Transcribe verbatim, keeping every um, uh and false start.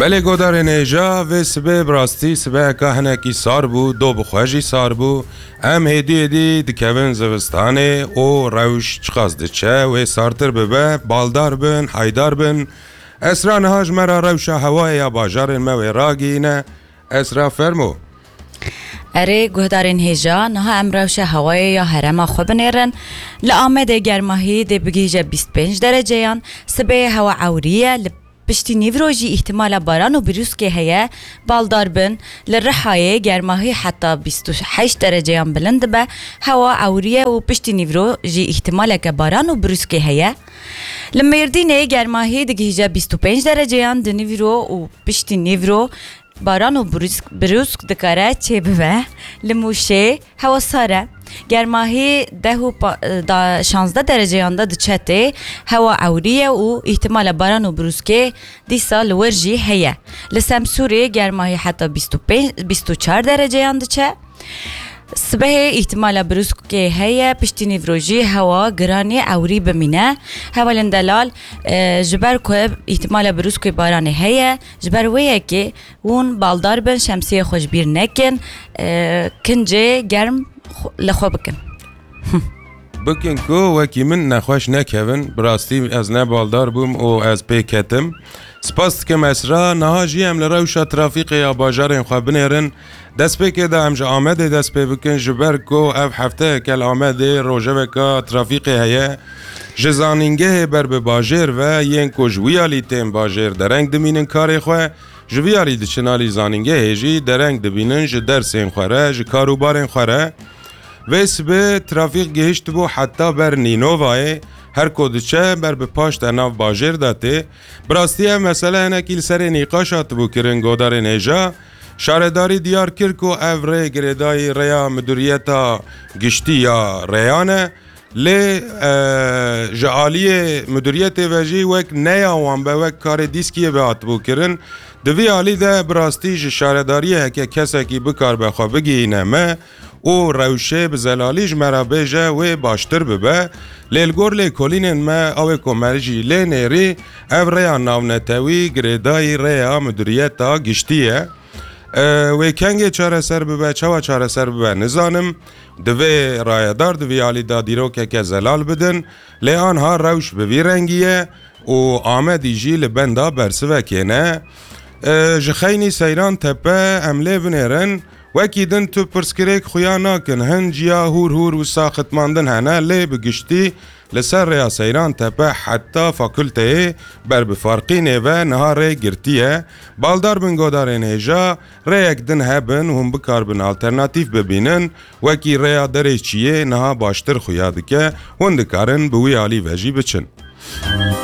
Belê godarên hêja, vê sibê bi rastî sibeheka hinekî sar bû, do bi xwe jî sar bû. Em hêdî hêdî dikevin zivistanê û rewş çiqas diçe wê sartir bibe, baldar bin, haydar bin. Esra niha ji me re rewşa hewayê ya bajarên me wê ragihîne. Esra, fermo. Erê, guhdarên hêja, niha em rewşa hewayê ya herêma xwe binêrin. Li Amedê germahî dê bigihîje bîst pênc dereceyan, sibê hewa ewrî ye, li piştî nîvro jî îhtimala baran û birûskê heye, baldar bin. Li Rihayê germahî heta bîst û heşt dereceyan bilind dibe, hewa ewrî ye û piştî nîvro jî îhtimaleke baran û birûskê heye. Li Mêrdînê germahî digihîje bîst û pênc dereceyan di nîvro û piştî nîvro baran û birûsk, birûsk dikare çêbibe. Li Mûşê hewa sar e. Germahî deh û pa-, da, şazdeh dereceyan de diçe tê. Hewa ewrî ye û îhtimala baran û birûskê dîsa li wir jî heye. Li Semsûrê germahî heta bîst û pênc, bîst û çar dereceyan diçe. Sibehê îhtimala birûskê heye, piştî nîvro jî hewa giranê ewrî bimîne. Hevalên delal, e, ji ber ku îhtimala birûskê baranê heye, ji ber wê yekê hûn baldar bin, şemsiyê xwe ji bîr nekin, e, kincê germ xwe, li xwe bikin. Bikin ku wekî min nexweş nekevin, bi rastî ez ne baldar bûm û ez pê ketim. Spas dikim Esra, niha jî em li rewşa trafîqê ya bajarên xwe binêrin. Destpêkê de em ji Amedê dest pê bikin, ji ber ku ev hefteyeke li Amedê rojeveka trafîqê heye. Ji zanîngehê ber bi bajêr ve yên ku ji wî alî tên bajêr dereng dimînin karê xwe, ji vî alî diçin alî zanîngehê jî dereng dibînin ji dersên xwe re, ji karûbarên xwe re. Vê sibê trafîk gihiştibû heta ber Nînovayê, her ku diçe ber bi paş de nav bajêr de tê. Bi rastî ev mesele hinekî li serê nîqaş hatibû kirin godarên hêja. Şaredarî diyar kir ku ev rê girêdayî rêya Midûriyeta Giştî ya Rêyan e. Lê, e, ji aliyê Midûriyetê ve jî wek neya wan be, wek karê dîskiyê ve hatibû kirin. Di vî alî de bi rastî ji şaredariyê heke kesekî bikaribe xwe bigihîne me û rewşê bi zelalî ji me re bêje, wê baştir bibe. Lê li gor lêkolînên me, ew ê ku me jî lê nêrî, ev rêya navnetewî girêdayî rêya Midûriyeta Giştî ye. E, wê kengê çareser bibe, çawa çareser bibe, nizanim. Divê rayedar di vî alî de dîrokeke zelal bidin, lê anha rewş bi vî rengî ye û Amedî jî li benda bersivekê ne. E, ji xeynî Seyran Tepe em lê binêrin, wekî din tu pirsgirêk xuya nakin, hin ciya hûr hûr wisa xitmandin hene, lê bi giştî li ser rêya Seyran Tepe heta fakulteyê ber bi farqînê ve niha rê girtiye. Baldar bin godarên hêja, rêyek din hebin, hûn bikaribin alternatîf bibînin, wekî rêya derê çiyê niha baştir xuya dike, hûn dikarin bi wî alî ve jî biçin.